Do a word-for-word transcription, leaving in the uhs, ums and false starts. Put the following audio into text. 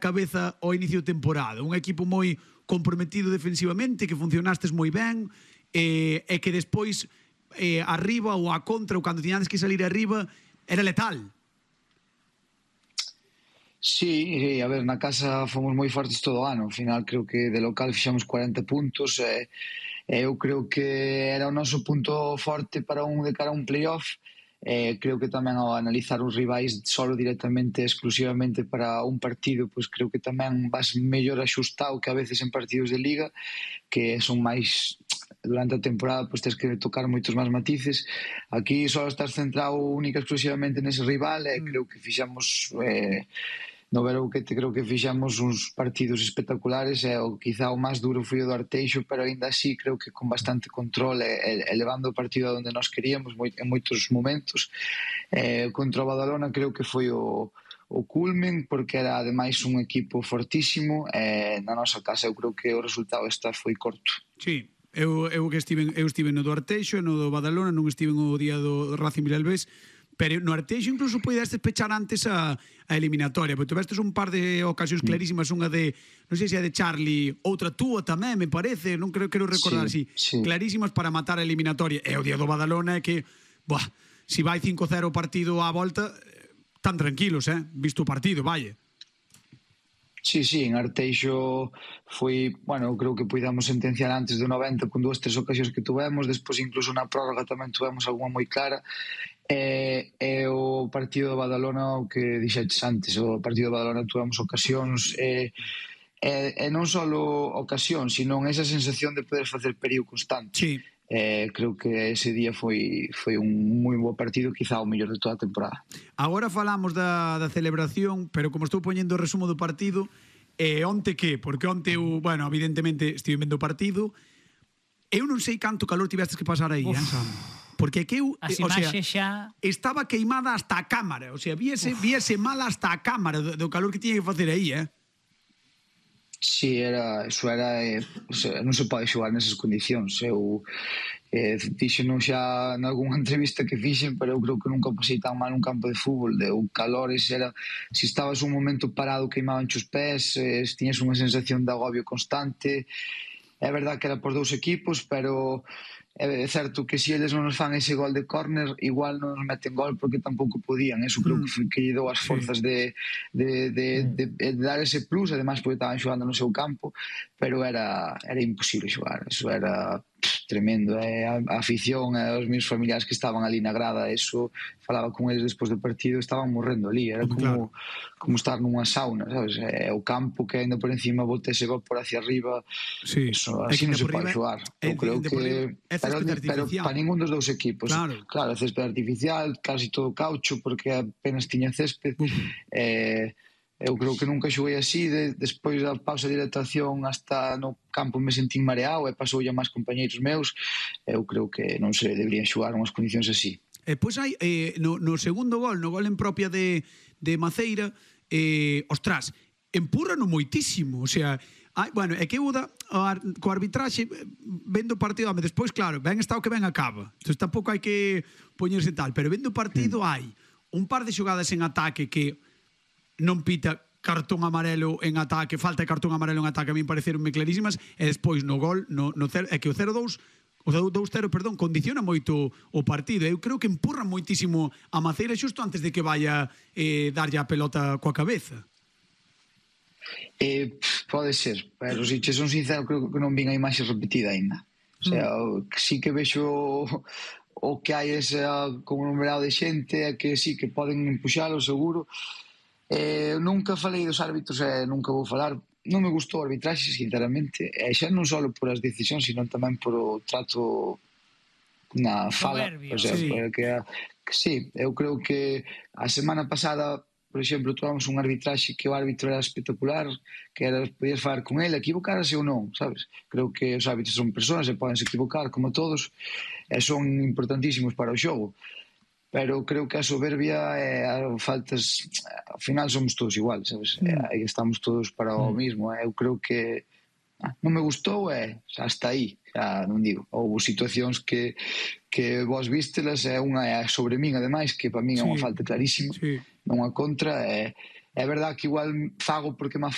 cabeza ao inicio de temporada, un equipo moi comprometido defensivamente, que funcionastes moi ben, e, e que despois eh, arriba ou a contra, ou cando tiñades que salir arriba, era letal. Sí, a ver, na casa fomos moi fortes todo o ano, ao final creo que de local fixamos cuarenta puntos, e eh, eu creo que era o noso punto forte para un de cara a un playoff. Eh, creo que tamén ao analizar os rivais solo directamente, exclusivamente para un partido, pois creo que tamén vas mellor axustado que a veces en partidos de liga, que son máis durante a temporada, pois tens que tocar moitos máis matices. Aquí só estás centrado única exclusivamente nese rival, e creo que fixamos eh, no Verão que te creo que fixamos uns partidos espectaculares, e o quizá o máis duro foi o do Arteixo, pero aínda así creo que con bastante control e, e levando o partido a onde nós queríamos moi, en moitos momentos. Eh, contra o Badalona creo que foi o, o culmen, porque era ademais un equipo fortísimo, e na nosa casa eu creo que o resultado esta foi corto. Sí, eu, eu que estive, eu estive no do Arteixo e no do Badalona, non estive no día do Racing Vilalbés, pero no Arteixo incluso podestes pechar antes a, a eliminatoria, porque tivestes un par de ocasións clarísimas, unha de, non sei se é de Charlie, outra túa tamén, me parece, non creo, quero recordar, sí, así, sí, clarísimas para matar a eliminatoria. E o día do Badalona é que, buah, si vai cinco cero o partido á volta, tan tranquilos, eh, visto o partido, vai. Sí, sí, en Arteixo foi, bueno, creo que puidamos sentenciar antes do noventa con dúas, tres ocasións que tuvemos, despois incluso na prórroga tamén tuvemos algunha moi clara. E, e o partido do Badalona, o que dixetes antes, o partido do Badalona tuvemos ocasións, e, e, e non só ocasións, sino esa sensación de poder facer perigo constante. Sí. Eh, creo que ese día foi, foi un moi bo partido, quizá o mellor de toda a temporada. Agora falamos da, da celebración, pero como estou poñendo o resumo do partido, eh, onte que? Porque onte eu, bueno, evidentemente estive vendo o partido, eu non sei canto calor tivestes que pasar aí, eh, Sam? Porque que eu, As o sea, xa... estaba queimada hasta a cámara, o sea, viese, viese mal hasta a cámara do, do calor que tiña que facer aí, eh? Sí, era, eso era, eh, o sea, non se pode xogar nesas condicións. Eu eh, dixeno xa nalgúna entrevista que fixen, pero eu creo que nunca pasei tan mal un campo de fútbol. De, o calores era, se si estabas un momento parado queimaban os pés, eh, tiñas unha sensación de agobio constante. É verdad que era por dous equipos, pero é certo que se eles non nos fan ese gol de córner, igual non nos meten gol porque tampouco podían. Eso creo que, que lle dou as forzas de, de, de, de, de dar ese plus, además porque estaban xogando no seu campo, pero era, era imposible xogar. Eso era pff, tremendo. Eh? A, a afición, eh, os meus familiares que estaban ali na grada, eso, falaba con eles despois do partido, estaban morrendo ali. Era como, claro, como estar nunha sauna, sabes? Eh, o campo que ainda por encima bota ese gol por hacia arriba, sí, eso, así non se pode xogar. Eu creo que... Pero, pero para ningún dos dous equipos, claro, claro, césped artificial, casi todo caucho, porque apenas tiña césped. Uh -huh. eh, eu creo que nunca xoguei así, de, despois da pausa de hidratación hasta no campo me sentín mareado, e pasou a máis compañeiros meus. Eu creo que non se deberían xogar unhas condicións así. E pois hai, eh, no, no segundo gol, no gol en propia de, de Maceira, eh, ostras, empurrano moitísimo, o sea, ai, bueno, é que eu da, co arbitraxe vendo o partido, home, despois, claro, ben está o que ben acaba, entón tampouco hai que poñerse tal, pero vendo o partido hai un par de xogadas en ataque que non pita cartón amarelo en ataque, falta de cartón amarelo en ataque, a mí pareceronme clarísimas, e despois no gol, no, no cero, é que o cero dous, o dous cero, perdón, condiciona moito o partido. Eu creo que empurra moitísimo a Maceira xusto antes de que vaya eh, darlle a pelota coa cabeza. Eh, pode ser, pero se che son sincero, creo que non vin a imaxe repetida ainda. O sea, mm. sí que vexo o que hai esa conglomerado de xente, é que sí que poden empuxalo, seguro. Eh, nunca falei dos árbitros e nunca vou falar. Non me gustou o arbitraxe, sinceramente, e xa non só por as decisións, sino tamén por o trato na fala. Soberbio, o sea, sí. Que, que sí, eu creo que a semana pasada, por exemplo, tuvamos un arbitraxe que o árbitro era espectacular, que era, podías falar con ele, equivocarase ou non, sabes? Creo que os árbitros son persoas e podense equivocar, como todos, e son importantísimos para o xogo. Pero creo que a soberbia e a faltas, ao final somos todos igual, sabes? Mm. Aí estamos todos para o mismo. Eu creo que ah, non me gustou e hasta aí, xa non digo. Houve situacións que, que vos vístelas, e unha é sobre min, ademais, que para min é unha sí. falta clarísima, sí. non a contra, e é verdad que igual fago porque me